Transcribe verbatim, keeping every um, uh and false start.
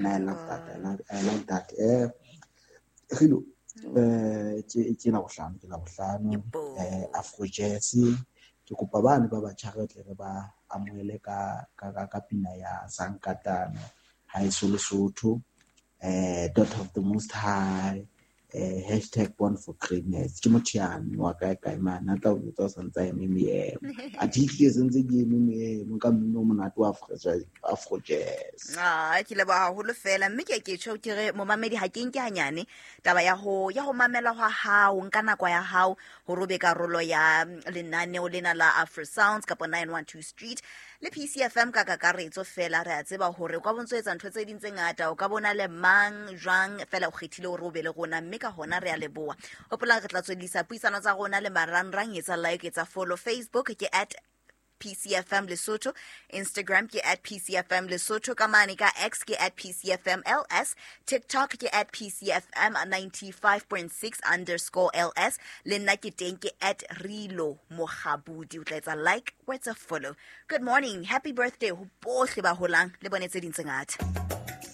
I love that. I like, I like that. Eh, Rilo, eh, ke ke Labohlano, ke Labohlano, Yebo. eh, Afro Jazz. Ke kopa bane ba batjha re tle re ba amohele ka ka ka, ka pina ya Sankatana, Haeso Lesotho, eh, Daughter of the Most High, eh, hashtag Born for Greatness. Ke motho yane wa kae kae mane, a tla o jwetsa o santse a eme meemo. Athe ehlile sentse ke eme meemo ka mmino o monate wa Afro Jazz, Afro Jazz. Ah, ke leboha haholo fela, mme ke ke tjho ke re momamedi ha ke nke hanyane taba ya ho ya ho mamela hwa hao, nka nako ya hao hore o be karolo ya lenaneo lena la Afro Sounds kapa nine one two Street le P C F M ka kakaretso fela. Re a tseba hore o ka bontso etsa ntho tse ding tse ngata, o ka bona le mang jwang fela o kgethile hore o be le rona, mme ka hona re a leboha. Hopola re tla tswellisa puisano tsa rona le marangrang, etsa like, etsa follow. Facebook ke at P C F M Lesotho, Instagram ke at P C F M Lesotho, ka mane ka X ke at P C F M L S, TikTok ke at P C F M ninety-five point six underscore L S, le nna ke teng ke at Rilo Mokgabudi. O tla etsa like, o etsa follow. Good morning, happy birthday ho bohle ba holang le bone tse ding tse ngata.